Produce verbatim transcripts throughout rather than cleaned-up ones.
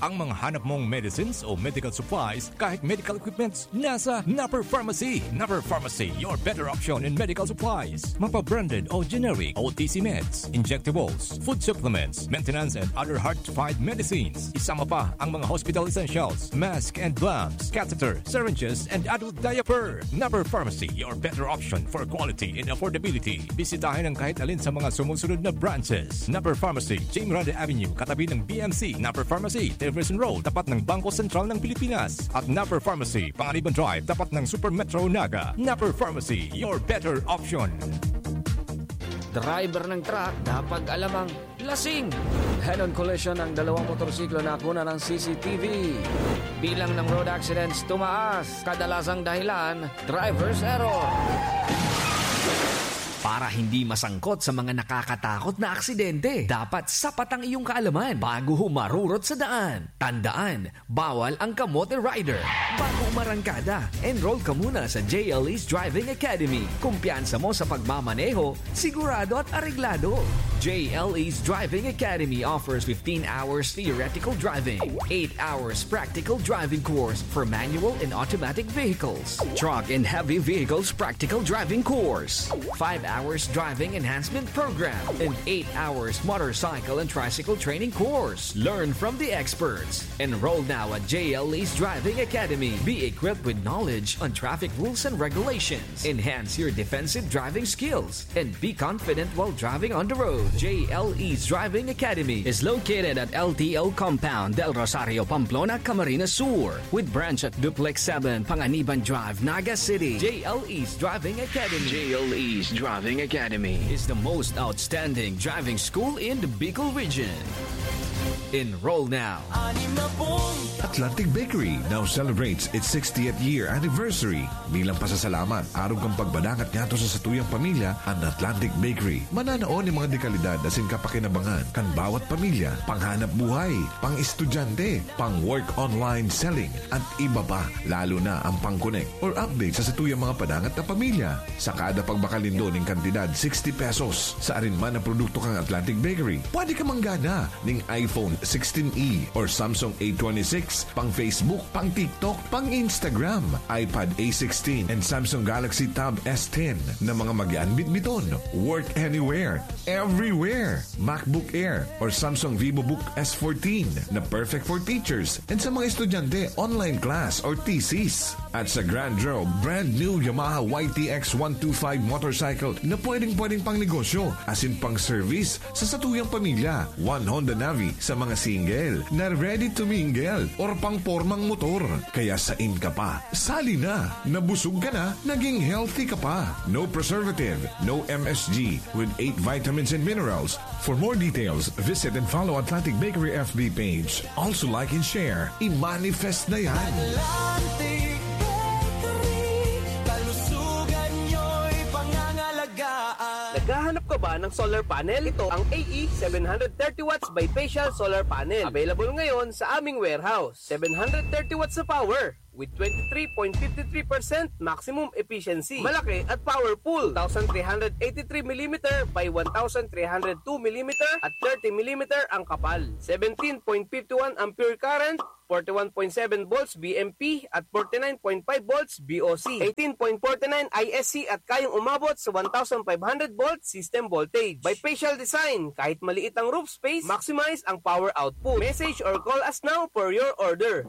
Ang mga hanap mong medicines o medical supplies, kahit medical equipments, nasa Napper Pharmacy. Napper Pharmacy, your better option in medical supplies. Mapa-branded o generic, O T C meds, injectables, food supplements, maintenance and other hard-to-find medicines. Isama pa ang mga hospital essentials, mask and gloves, catheter, syringes, and adult diaper. Napper Pharmacy, your better option for quality and affordability. Bisitahin ang kahit alin sa mga sumusunod na branches. Napper Pharmacy, James Rada Avenue, katabi ng B M C. Napper Pharmacy, Jefferson Road, tapat ng Bangko Sentral ng Pilipinas. At Napper Pharmacy, Panganiban Drive, tapat ng Super Metro Naga. Napper Pharmacy, your better option. Driver ng truck, dapat alam ang lasing. Head-on collision ng dalawang motorsiklo na kuna ng C C T V. Bilang ng road accidents tumaas, kadalasang dahilan, driver's error. Para hindi masangkot sa mga nakakatakot na aksidente, dapat sapat ang iyong kaalaman bago humarurot sa daan. Tandaan, bawal ang kamote rider. Bago umarangkada, enroll ka muna sa J L E's Driving Academy. Kumpiyansa mo sa pagmamaneho, sigurado at areglado. J L E's Driving Academy offers fifteen hours theoretical driving, eight hours practical driving course for manual and automatic vehicles, truck and heavy vehicles practical driving course, five hours driving enhancement program, and eight hours motorcycle and tricycle training course. Learn from the experts. Enroll now at J L E's Driving Academy. Be equipped with knowledge on traffic rules and regulations. Enhance your defensive driving skills and be confident while driving on the road. J L E's Driving Academy is located at L T O Compound, Del Rosario, Pamplona, Camarines Sur, with branch at Duplex seven, Panganiban Drive, Naga City. J L E's Driving Academy. J L E's Driving Academy is the most outstanding driving school in the Bicol region. Enroll now. Atlantic Bakery now celebrates its sixtieth year anniversary. Bilang pasasalamat, arog kan pagpadangat ngadto sa satuyang pamilya, an Atlantic Bakery mananao nin mga dekalidad asin kapakinabangan kan bawat pamilya, panghanap buhay, pang-estudyante, pang-work online selling, at iba pa, lalo na ang pang-connect or update sa satuyang mga padangat na pamilya. Sa kada pagbakal nindo nin kantidad sixty pesos sa arin man na produkto kan Atlantic Bakery, pwede ka manggana nin iPhone sixteen E or Samsung A twenty-six, pang Facebook, pang TikTok, pang Instagram, iPad A sixteen, and Samsung Galaxy Tab S ten na mga magian bitbiton. Work anywhere, everywhere. MacBook Air or Samsung VivoBook S fourteen na perfect for teachers and sa mga estudyante, online class or thesis. At sa Grand Road, brand new Yamaha Y T X one two five motorcycle na pwedeng-pwedeng pang negosyo asin pang service sa satuyang pamilya. One Honda Navi sa mga single na ready to mingle or pang pormang motor. Kaya sain ka pa? Sali na! Nabusog ka na, naging healthy ka pa. No preservative, no M S G, with eight vitamins and minerals. For more details, visit and follow Atlantic Bakery F B page. Also like and share. I-manifest na yan! Atlantic Bakery, kalusugan nyo'y pangangalagaan. Naghahanap ka ba ng solar panel? Ito ang A E seven hundred thirty watts bifacial solar panel. Available ngayon sa aming warehouse. Seven hundred thirty watts na power with twenty-three point five three percent maximum efficiency. Malaki at powerful. Two thousand three hundred eighty-three millimeter by one thousand three hundred two millimeter at thirty millimeter ang kapal. Seventeen point five one ampere current, forty-one point seven volts V M P at forty-nine point five volts V O C, eighteen point forty-nine I S C at kayang umabot sa one thousand five hundred volt system voltage. Bifacial design, kahit maliit ang roof space, maximize ang power output. Message or call us now for your order.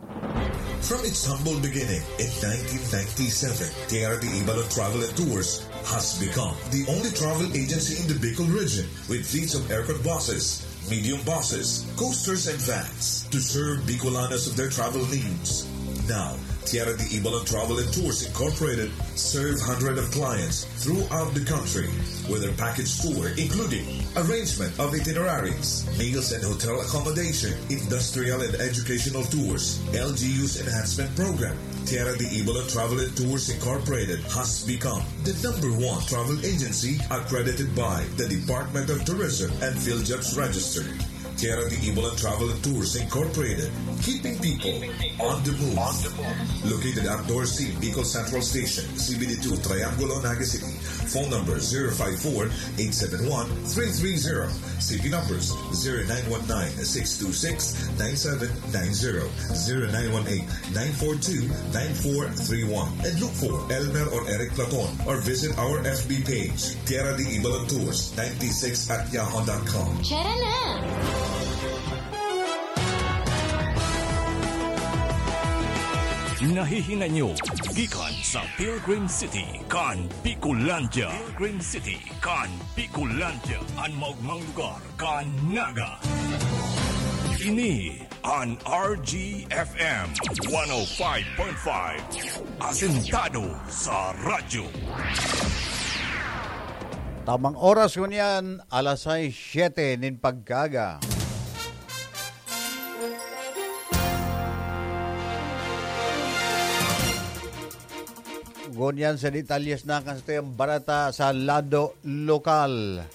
From its humble beginning in nineteen ninety-seven, Tierra de Ibalon Travel and Tours has become the only travel agency in the Bicol region with fleets of aircon buses, medium buses, coasters, and vans to serve Bicolanos of their travel needs. Now, Tierra de Ibalon Travel and Tours Incorporated serve hundreds of clients throughout the country with their package tour, including arrangement of itineraries, meals and hotel accommodation, industrial and educational tours, L G U's enhancement program. Tierra de Ibalon Travel and Tours Incorporated has become the number one travel agency accredited by the Department of Tourism and PhilJobs Register. Kera de Ibolan Travel and Tours Incorporated, keeping people on the move. Located at Dorsey, Bicol Central Station, C B D two, Triangulo, Naga City. Phone number zero five four, eight seven one, three three zero. C P numbers zero nine one nine, six two six, nine seven nine zero, zero nine one eight, nine four two, nine four three one. And look for Elmer or Eric Platon or visit our F B page, Kera de Ibolan Tours ninety-six at yahoo dot com. Tara na! Nahihinay nyo gikan sa Pilgrim City kan Bicolandia. Pilgrim City kan Bicolandia, an maogmang lugar kan Naga. Ini an R G F M one oh five point five, asentado sa radyo. Tamang oras ngunyan, alas sais siyete nin pagkaaga. Ngunyan sa detalyes na kan satuyang bareta sa lado lokal.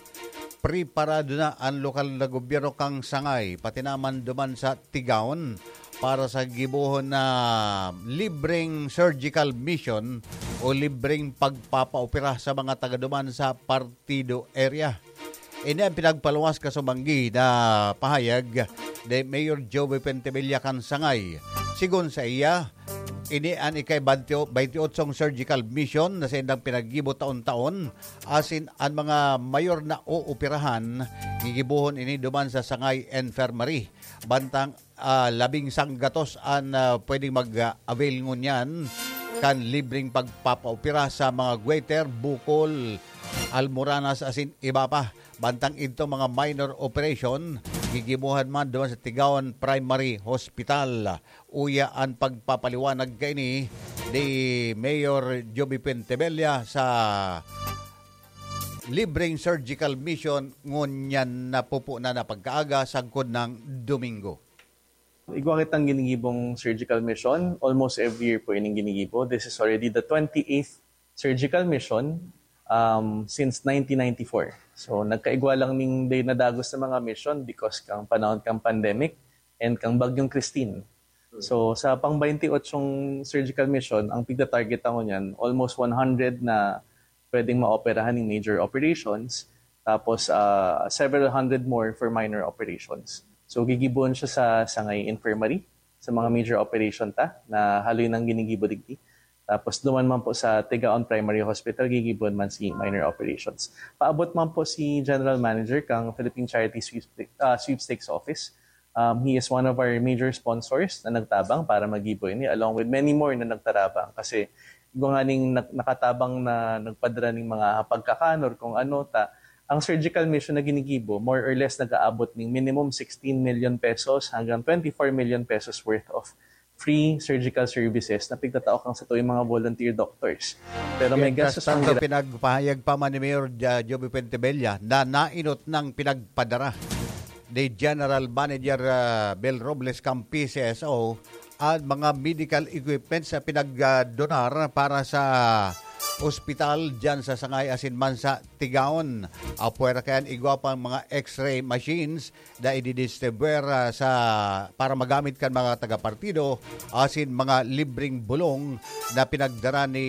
Preparado na an lokal na gobyerno kan Sangay, pati naman duman sa Tigaon, para sa gibohon na libreng surgical mission o libreng pagpapaopera sa mga taga duman sa Partido area. Ini ang pinagpaluwas kasubanggi na pahayag ni Mayor Joey Pentebella kan Sangay. Sigon sa iya, ini an ika-, baynte-, baynte otsong surgical mission na saindang pinaggibo taon-taon, asin an mga mayor na ooperahan, gigibohon ini duman sa Sangay Infirmary. Bantang, ah, labing sanggatos an, ah, pwedeng mag-avail ngunyan kan libreng pagpapaopera sa mga goiter, bukol, almoranas asin iba pa. Bantang idto mga minor operation, gigibohan man duman sa Tigaon Primary Hospital. Uya an pagpapaliwanag kaini ni Mayor Joby Pentebella sa libreng surgical mission ngunyan na pupunan na pagkaaga sagkod ng Domingo. Igwa kitang ginigibong surgical mission. Almost every year po ining ginigibo. This is already the twenty-eighth surgical mission, um, since nineteen ninety-four. So, nagkaigwa lang ning day nadagos na mga mission because kang panahon kang pandemic and kang Bagyong Christine. So, sa pang twenty-eight surgical mission, ang pigta-target ako niyan, almost one hundred na pwedeng maoperahan ng major operations, tapos, ah, several hundred more for minor operations. So, gigibohon siya sa Sangay Infirmary, sa mga major operation ta, na haloy nang ginigibo digdi. Tapos, duman man po sa Tigaon Primary Hospital, gigibohon man si minor operations. Paabot man po si General Manager kang Philippine Charity Sweepstake-, ah, Sweepstakes Office. Um, he is one of our major sponsors na nagtabang para magibo ini, along with many more na nagtarabang. Kasi igwa nganing nak-, nakatabang na nagpadara ning mga pagkakan or kung ano ta, ang surgical mission na ginigibo, more or less, nag-aabot ning minimum sixteen million pesos hanggang twenty-four million pesos worth of free surgical services na pigtatao kang satuyang mga volunteer doctors. Pero may gastos ang tanto, pinagpahayag pa man ni Mayor Ja-, Joby Pentebella na nainot ng pinagpadara ni General Manager, ah, Mel Robles kan P C S O at mga medical equipments na pinagdonar para sa ospital diyan sa Sangay asin man sa Tigaon. Apwera kayan, igwa pang mga X-ray machines na ididistribuer, ah, sa, para magamit kan mga taga-partido asin mga libreng bulong na pinagdara ni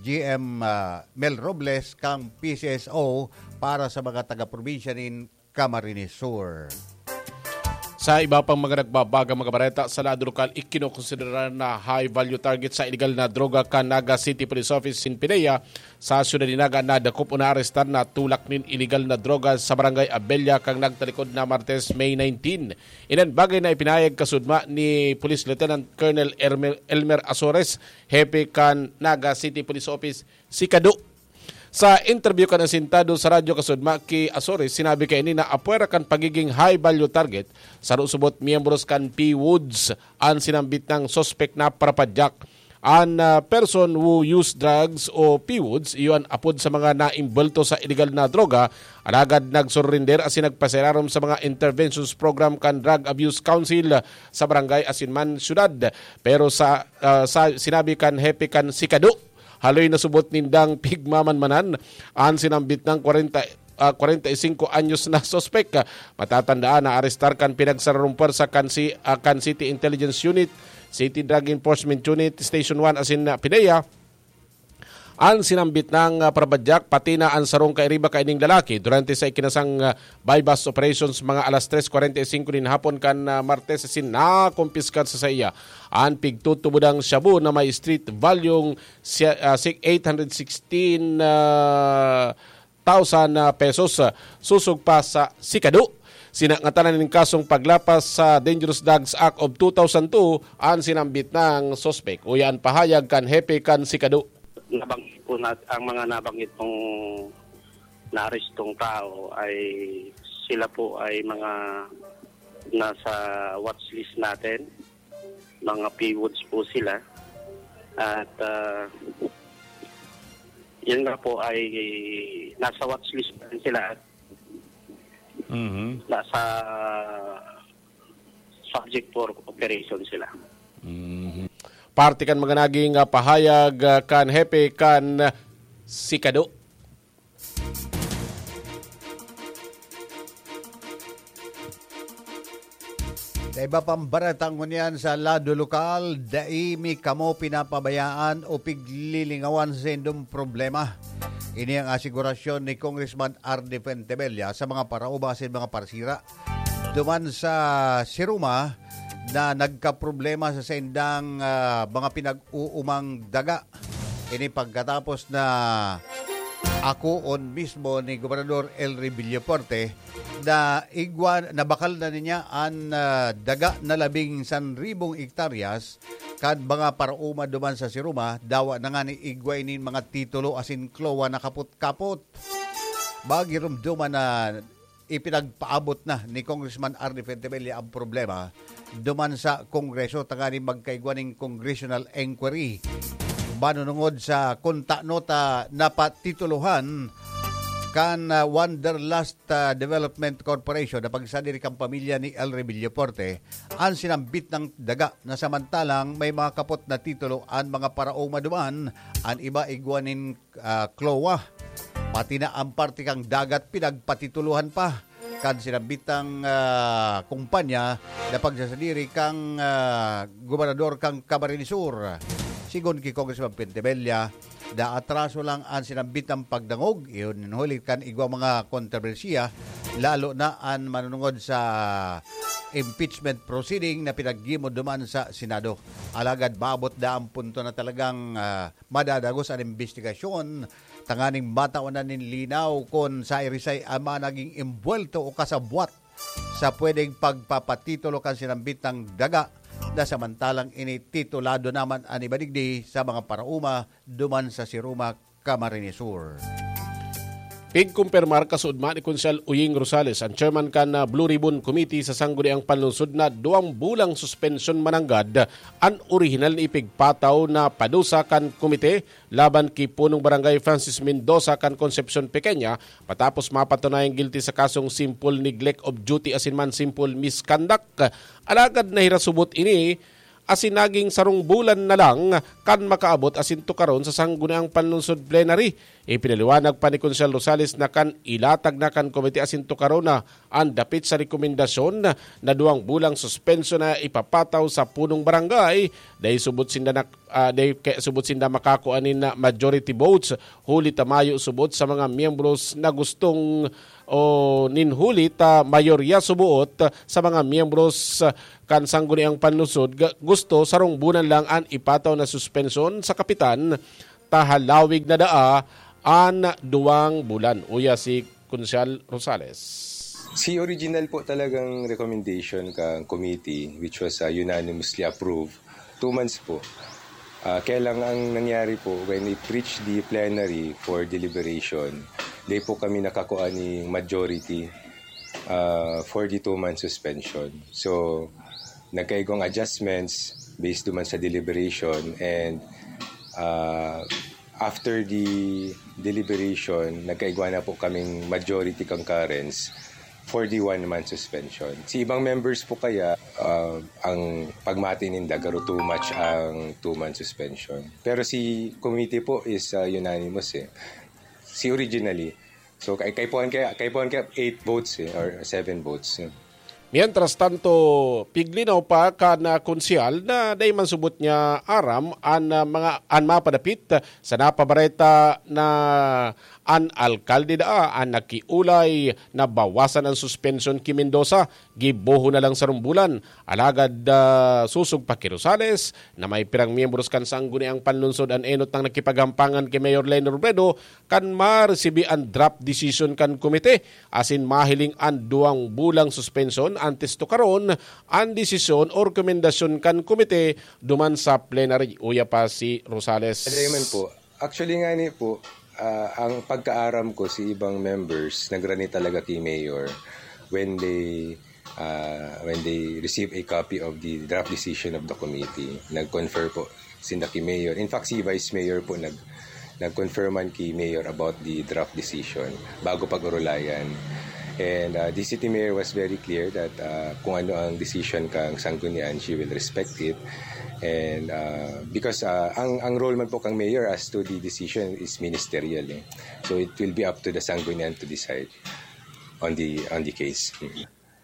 G M, ah, Mel Robles kang P C S O para sa mga taga-probinsya nin Camarines Sur. Sa iba pang mga nagbabagang mga bareta sa lado lokal, ikinokonsidera na high value target sa iligal na droga kan Naga City Police Office nin PDEA sa siyudad nin Naga na dakop o naarestar na tulak nin iligal na droga sa Barangay Abella kan nagtalikod na Martes, May nineteen. Inan bagay na ipinahayag kasudma ni Police Lieutenant Colonel Ermel-, Elmer Azores, hepe kan Naga City Police Office, Sikado. Sa interview kan asintado sa radyo kasudma ki Azores, sinabi kaini na apwera kan pagiging high value target, saro subot miyembros kan P-Woods an sinambit nang suspek na parapadyak. An, ah, person who use drugs o P-Woods, iyo an apod sa mga naimbwelto sa iligal na droga, alagad nagsurrender asin nagpasirarom sa mga interventions program kan Drug Abuse Council sa barangay asin man syudad. Pero sa, ah, sa sinabi kan hepe kan Sikado, haloy na subot nindang pigmamanmanan an sinambit nang kwarenta, ah, kwarenta y singko anyos na suspek. Matatandaan na arestar kan pinagsararong pwersa kan si, ah, kan City Intelligence Unit, City Drug Enforcement Unit, Station one asin, ah, PDEA, an sinambit nang, ah, parabadyak, pati na an sarong kairiba kaining lalaki. Durante sa ikinasang, ah, buy-bust operations, mga alas tres kwarenta y singko nin hapon kan, ah, Martes, asin nakumpiskar sa saiya an pigtutubodang shabu na may street value siya, ah, si-, eight hundred sixteen, ah, thousand, ah, pesos, ah, susog pa sa sikado. Sinangatanan nin kasong paglapas sa Dangerous Drugs Act of two thousand two an sinambit nang suspek. Uya an pahayag kan hepe kan sikado. Nabanggit po nat-, ang mga nabanggit pong naarestong tao ay sila po ay mga nasa watch list natin. Mga P W Ds po sila. At, ah, yun nga po ay nasa watch list pa rin sila at Mhm. nasa subject for operation sila. Mhm. Parte kan mga naging, ah, pahayag, ah, kan hepe kan sikado. Sa iba pang bareta ngunyan sa lado lokal, dai mi kamo pinapabayaan o piglilingawan sa indong problema. Ini ang asigurasyon ni Congressman Ardy Fuentebella sa mga paraoma asin mga parsira duman sa Siruma na nagkaproblema sa saindang, ah, mga pinag-uumang daga. Ini pagkatapos na akoon mismo ni Gobernador Elry Villafuerte na igwa, nabakal na niya an, ah, daga na labing sanribong hektaryas kan mga paraoma duman sa Siruma, dawa na ngani igwa ini mga titulo asin klowa na kapot-kapot. Magirumduman na ipinagpaabot na ni Congressman Arnie Fentebella ang problema duman sa Kongreso tanganing magkaigwa nin congressional inquiry. Manunungod sa kun tano ta napatitulohan kan, ah, Wanderlust, ah, Development Corporation na pagsadiri kan pamilya ni Elry Villafuerte, an sinambit na daga na samantalang may mga kapot na titulo an mga paraoma duman, an iba igwa nin, ah, klowa. Pati na an parte kan dagat pinagpatitulohan pa kan sinambitang, ah, kumpanya na pagsasadiri kan, ah, gobernador kan Camarines Sur. Sigon ki Congressman Fentebella, naatraso lang an sinambitang pagdangog, iyo nin huli kan igwa mga kontrobersiya, lalo na an manunungod sa impeachment proceeding na pinaghimo duman sa Senado. Alagad maabot na an punto na talagang, ah, madadagos an imbestigasyon tanganing matawan na nin linaw kun siisay an mga naging embuwelto o kasabwat sa pwedeng pagpapatitulo kan sinambitang daga na samantalang ini titulado naman an iba digdi sa mga paraoma duman sa Siruma, Camarines Sur. Pigkumpirmar kasuodma ni Konsehal Uying Rosales, an chairman kan, ah, Blue Ribbon Committee sa Sangguniang Panlungsod, na duwang bulang suspensyon mananggad an orihinal na ipigpataw na padusa kan komite laban ki Punong Barangay Francis Mendoza kan Concepcion Pequeña, matapos mapatunayang guilty sa kasong simple neglect of duty asin man simple misconduct. Alagad nahirasubot ini asin naging sarong bulan na lang kan makaabot asin tukaron sa Sangguniang Panlungsod Plenary. Ipinaliwanag pa ni Konsehal Rosales na kan ilatag na kan komite asin tukaron na an dapit sa rekomendasyon na duwang bulang suspensyon na ipapataw sa punong barangay, dai subot sinda nak-, ah, dai kaya subot sinda makakua nin majority votes, huli ta mayo subot sa mga miyembros na gustong o nin huli ta mayorya suboot sa mga miyembros kan Sangguniang Panlungsod ga-, gusto sarong bulan lang an ipataw na suspensyon sa kapitan, ta halawig na daa an duwang bulan. Uya si Konsehal Rosales. Si original po talagang recommendation kan committee, which was, uh, unanimously approved, two months po. Ah, kaya lang ang nangyari po, when it reached the plenary for deliberation, di po kami nakakuha ni majority, ah, for the two-month suspension. So, nagkaigong adjustments based duman sa deliberation and, ah, after the deliberation, nagkaigwa na po kaming majority concurrence for the one-month suspension. Si ibang members po kaya, ah, ang pagmati ninda, garo too much ang two-month suspension. Pero si committee po is, ah, unanimous eh. Si originally, So kay kay puan kaya kay puan kaya eight votes eh, or seven votes. Eh. Mientras tanto, piglinaw pa kan ah, konsehal na dai man subot niya aram an ah, mga an mapadapit sa napabareta na an alkalde daa an nakiulay na bawasan an suspensyon ki Mendoza, gibohon na lang sa rumbulan. Alagad ah, susog pa ki Rosales na may pirang miyembros kan sangguniang panlunsod an enot nang nakipaghampangan ki Mayor Leni Robredo kan maresibi an draft decision kan komite asin mahiling an duwang bulang suspensyon antes tukaron an desisyon o rekomendasyon kan komite duman sa plenary. Uya pa si Rosales. Ano man po, actually nga ni po, ah, ang pagkaaram ko si ibang members nagrani talaga kay Mayor when they uh, when they receive a copy of the draft decision of the committee. Nag-confer po sinda ki Mayor. In fact, si Vice Mayor po nag nag-confirman ki Mayor about the draft decision bago pag-urulayan. And uh, the city mayor was very clear that uh, kung ano ang decision kang sanggunian, she will respect it. And uh, because uh, ang ang role man po kang mayor as to the decision is ministerial eh. So it will be up to the sanggunian to decide on the on the case.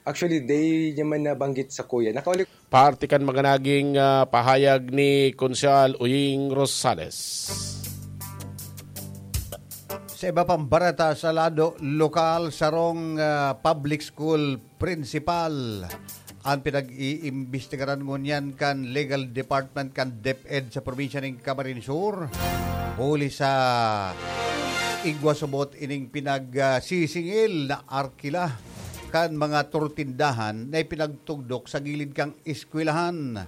Actually, they naman nabanggit sa kuya. Nakauli Parte kan mga naging ah, pahayag ni Konsehal Uying Rosales. Sa iba pang bareta sa lado lokal, sarong ah, public school principal ang pinag-iimbestigaran ngunyan kan Legal Department kan DepEd sa probinsya ning Camarines Sur. Huli sa igwa subot ining pinagsisingil na arkila kan mga turtindahan na ipinagtugdok sa gilid kan eskwelahan.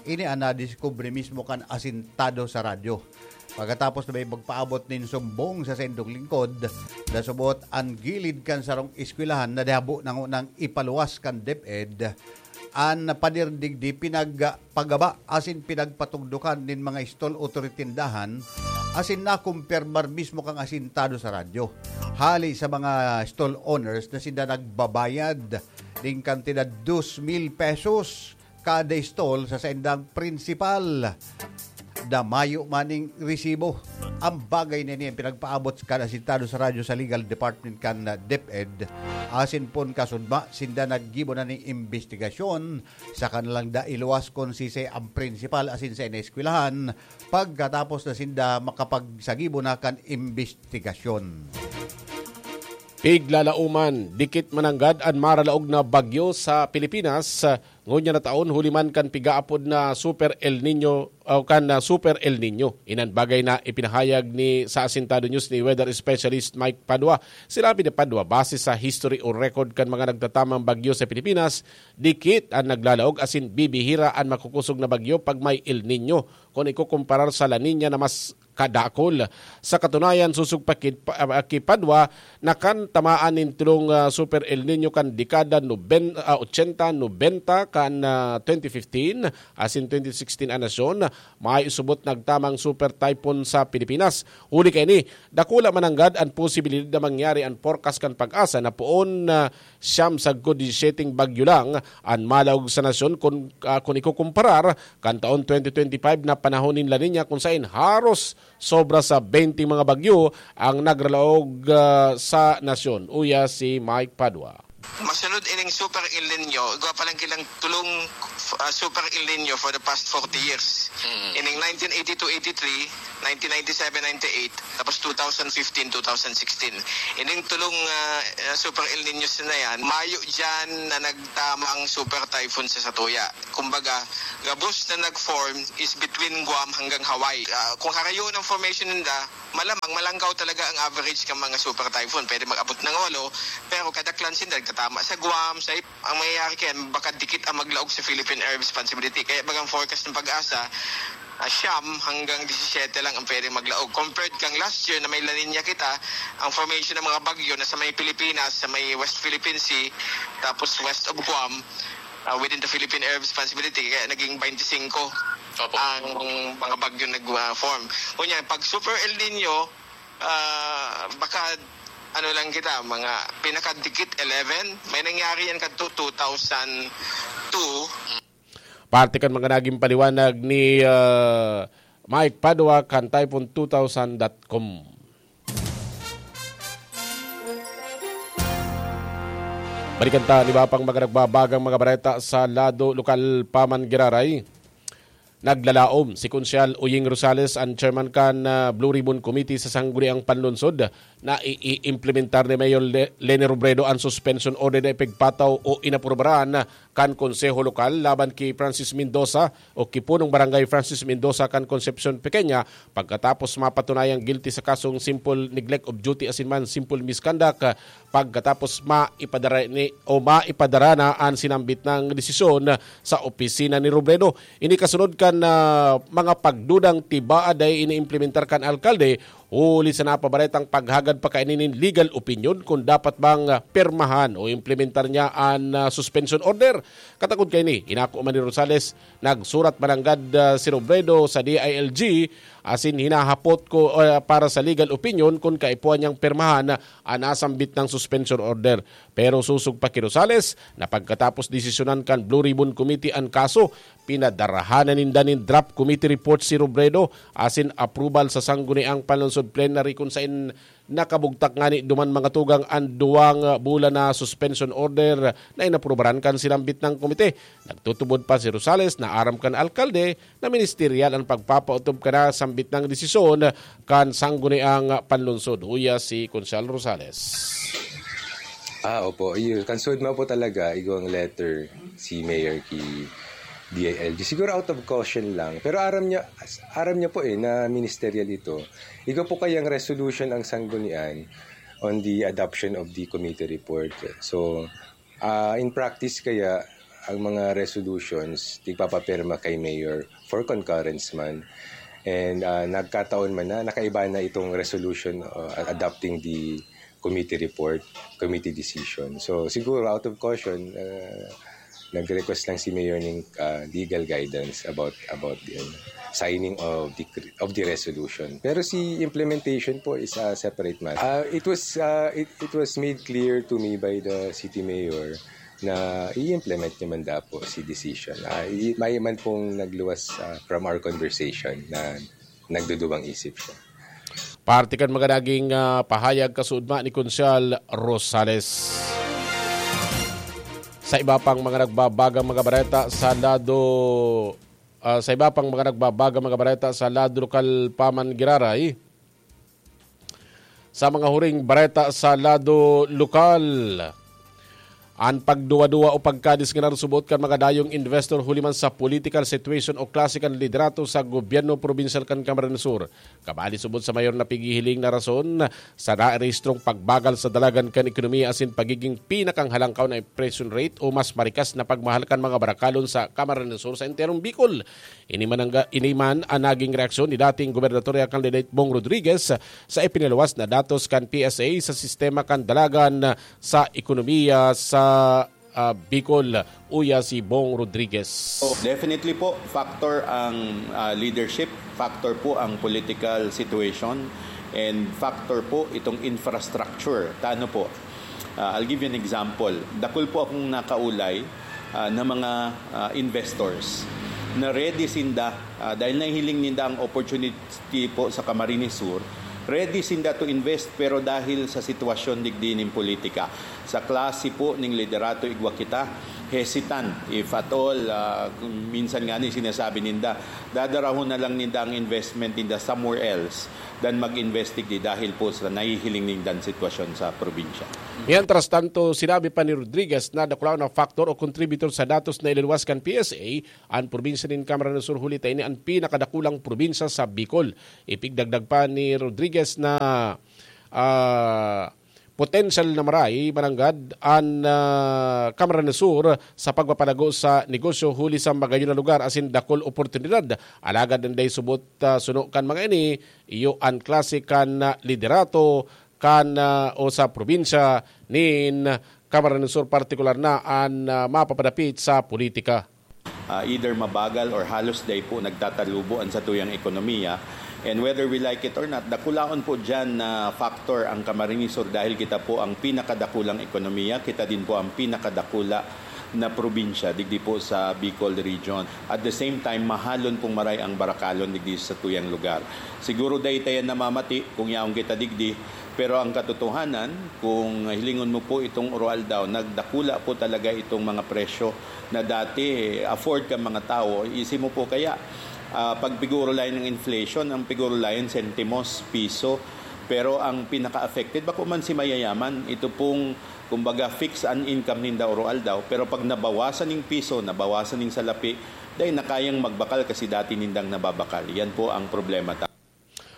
Ini an nadiskubre mismo kan asintado sa radyo. Pagkatapos na may magpaabot nin sumbong sa saindong lingkod, nasubot an gilid kan sarong eskwelahan na dihabo na ngunang ipaluwas kan DepEd, an pader digdi pinagpagaba asin pinagpatugdokan nin mga stall o tindahan, asin nakumpirmar mismo kan asintado sa radyo. Hali sa mga stall owners na sinda nagbabayad nin kantidad dos mil pesos kada stall sa saindang prinsipal na mayo maning resibo. Ang bagay na ini ang pinagpaabot kan asintado sa radyo sa Legal Department kan DepEd. Asin pon kasudma, sinda naggibo na ning imbestigasyon sa kanilang dailuwas kung sisay ang prinsipal asin sa ineskwelahan. Pagkatapos na sinda makapagsagibo na kan imbestigasyon. Piglalauman, dikit mananggad an maralaog na bagyo sa Pilipinas. Ngunyan na taon, huli man kan pigaapod na Super El Nino o kan ah, Super El Nino. Inan bagay na ipinahayag ni sa Asintado News ni weather specialist Mike Padua. Sinabi ni Padua, base sa history o record kan mga nagtatamang bagyo sa Pilipinas, dikit an naglalaog asin bibihira an makukusog na bagyo pag may El Nino. Kun ikukumparar sa La Nina na mas kadakol. Sa katunayan, susog pa kid pa- ah, ki Padua na kan tamaan nin tulong ah, Super El Nino kan dekada noben, ah, ochenta, nobenta kan ah, twenty fifteen asin twenty sixteen an nasyon, may subot nagtamang super typhoon sa Pilipinas. Huli kaini, dakula mananggad an posibilidad na mangyari an forecast kan PAGASA na poon na siyam sagkod disisiyete bagyo lang an malaog sa nasyon kun, ah, kun ikukumparar kan taon twenty twenty-five na panahon nin La Nina, kung sain haros sobra sa beinte mga bagyo ang nagralaog ah, sa nasyon. Uya si Mike Padua. Masunod ining Super El Nino, igwa pa lang kilang tulong ah, Super El Nino for the past forty years. Ining nineteen eighty-two eighty-three, nineteen ninety-seven ninety-eight, tapos two thousand fifteen two thousand sixteen. Ining tulong ah, ah, Super El Nino na yan, mayo dyan na nagtamang super typhoon sa satuya. Kumbaga, gabos na nag-form is between Guam hanggang Hawaii. Ah, kung harayo ng formation ninda, malamang malangkaw talaga ang average ng mga super typhoon. Pwede mag-abot ng walo, pero kadaklan sila nagtatama sa Guam, sa Ip-, ang mangyayari kaya, baka dikit ang maglaog sa Philippine Air Responsibility. Kaya bagang forecast ng PAGASA, ah, siyam hanggang disisiyete lang ang pwedeng maglaog. Compared kang last year na may La Nina kita, ang formation ng mga bagyo na sa may Pilipinas, sa may West Philippine Sea, tapos west of Guam, ah, within the Philippine Air Responsibility, kaya naging twenty-five Opo. Ang mga bagyo nag-form. Kunya, pag Super El Nino, ah, baka ano lang kita, mga pinakadikit eleven. May nangyari yan kadto two thousand two. Parte kan mga naging paliwanag ni ah, Mike Padua kan typhoon two thousand dot com. Balikan ta an iba pang mga nagbabagang mga bareta sa lado lokal pa man giraray. Naglalaom si Konsyal Uying Rosales, an chairman kan, ah, Blue Ribbon Committee sa Sangguniang Panlungsod, na i-, i-implementar ni Mayor Le-, Leni Robredo an suspension order na ipigpataw o inaprubaran kan Konseho Lokal laban ki Francis Mendoza o ki Punong Barangay Francis Mendoza kan Concepcion Pequeña pagkatapos mapatunayang guilty sa kasong simple neglect of duty asin man simple misconduct, ah, pagkatapos maipadara ni, o maipadara na an sinambit nang desisyon sa opisina ni Robredo. Ini kasunod kan, ah, mga pagdudang tibaa dai iniimplementar kan alkalde, huli sa napabaretang paghagad pa kaini nin legal opinion kung dapat bang, ah, pirmahan o implementar niya an, ah, suspension order. Katakod kaini, inako man ni Rosales, nagsurat mananggad, ah, si Robredo sa D I L G, asin hinahapot ko, ah, para sa legal opinion kung kaipuhan niyang pirmahan an nasambit nang suspension order. Pero sosog pa ki Rosales na pagkatapos desisyonan kan Blue Ribbon Committee an kaso, pinadarahan na ninda nin draft committee report si Robredo asin approval sa Sangguniang Panlungsod Plenary, kun saen nakabugtak ngani duman mga tugang an duwang bulan na suspension order na inaprubaran kan sinambit nang komite. Nagtutubod pa si Rosales na aram kan alkalde na ministeryal an pagpapautob kan nasambit nang desisyon kan Sangguniang Panlungsod. Huya si Konsehal Rosales. Ah, opo. Iyo, kan sud man po talaga, igwang letter si Mayor ki D I L G. Siguro out of caution lang. Pero aram niya, aram niya po eh, na ministerial ito. Igwa po kayang resolution ang sanggunian on the adoption of the committee report. So, ah, in practice kaya, ang mga resolutions, tigpapapirma kay Mayor for concurrence man. And ah, nagkataon man na nakaiba na itong resolution uh, adopting the committee report, committee decision. So siguro out of caution, uh, nag-request lang si Mayor ng uh, legal guidance about about the ano, signing of the cr- of the resolution. Pero si implementation po is a separate matter. Uh, it was uh, it, it was made clear to me by the city mayor na i-implement niya man daw po si decision. Uh, i- may man pong nagluwas uh, from our conversation na nagduduwang isip siya. Parte kan mga naging ah, pahayag kasuodma ni Konsehal Rosales. Sa iba pang mga nagbabagang mga bareta sa lado ah, sa iba pang mga nagbabagang mga bareta sa lado lokal pa man giraray, sa mga huring bareta sa lado lokal. An pagduwa-duwa o pagkadisganar subot kan mga dayong investor huli man sa political situation o klase kan liderato sa gobyerno probinsyal kan Camarines Sur. Kabali subot sa mayor na pighihiling na rason sa narehistrong pagbagal sa dalagan kan ekonomiya asin pagiging pinakanghalangkaw na inflation rate o mas marikas na pagmahal kan mga barakalon sa Camarines Sur sa enterong Bicol. Ini man, ang, ini man an naging reaksyon ni dating gobernador candidate Bong Rodriguez sa ipiniluwas na datos kan P S A sa sistema kan dalagan sa ekonomiya sa ah, Bicol. Uya si Bong Rodriguez. So, definitely po, factor ang ah, leadership, factor po ang political situation, and factor po itong infrastructure. Tano po? Ah, I'll give you an example. Dakul po akong nakaulay ah, na mga ah, investors na ready sinda ah, dahil nahihiling ninda ang opportunity po sa Camarines Sur, ready sinda to invest, pero dahil sa sitwasyon digdi nin politika, sa klase po ning liderato igwa kita, hesitant if at all. Ah, minsan nga ni sinasabi ninda, dadarahon na lang ninda ang investment ninda somewhere else than mag-invest digdi dahil po sa nahihiling nindang sitwasyon sa probinsya. Mientras tanto, sinabi pa ni Rodriguez na dakulaon na factor o contributor sa datos na ililuwas kan P S A an probinsya nin Camarines Sur, huli ta ini an pinakadakulang probinsya sa Bicol. Ipigdagdag pa ni Rodriguez na ah, potensyal na maray mananggad an ah, Camarines Sur sa pagpapalago sa negosyo huli sa magayon na lugar asin dakul oportunidad. Alagad an dai subot ah, suno kan mga ini, iyo an klase kan ah, liderato kan ah, o sa probinsya nin Camarines Sur, partikular na an ah, mapapadapit sa politika. Ah, either mabagal or halos dai po nagtatalubo ang satuyang ekonomiya. And whether we like it or not, dakulaon po dyan na factor ang Camarines Sur dahil kita po ang pinakadakulang ekonomiya, kita din po ang pinakadakula na probinsya digdi po sa Bicol region. At the same time, mahalon pong maray ang barakalon digdi sa tuyang lugar. Siguro dai ta yan namamati kung yaon kita digdi, Pero ang katotohanan, kung hilingon mo po itong Oroaldaw, nagdakula po talaga itong mga presyo na dati afford ka mga tao. Isi mo po kaya, ah, pag pigurulayan ng inflation, ang pigurulayan sentimos, piso. Pero ang pinaka-affected, bako man si mayayaman, ito pong, kumbaga, fix an income ninda Oroaldaw. Pero pag nabawasan ng piso, nabawasan ng salapi, dahil na kayang magbakal kasi dati nindang nababakal. Yan po ang problema ta.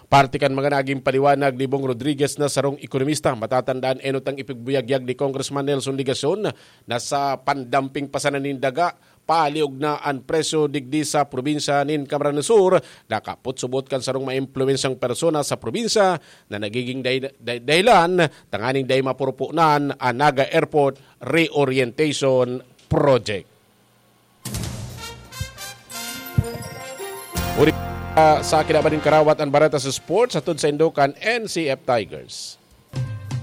Parte kan mga naging paliwanag ni Bong Rodriguez na sarong ekonomista, matatandaan enot ang ipigbuyagyag ni Congressman Nelson Legacion na sa pandamping pa sana nin daga, paliog na an presyo digdi sa probinsya nin Camarines Sur, nakaputsubot kan sarong maimpluwensyang persona sa probinsya na nagiging day-, day-, dahilan tanganing dai mapurupunan an Naga Airport Reorientation Project. Uri, ah, sa kinaban nin karawat an bareta sa sports, hatod sa indokan N C F Tigers.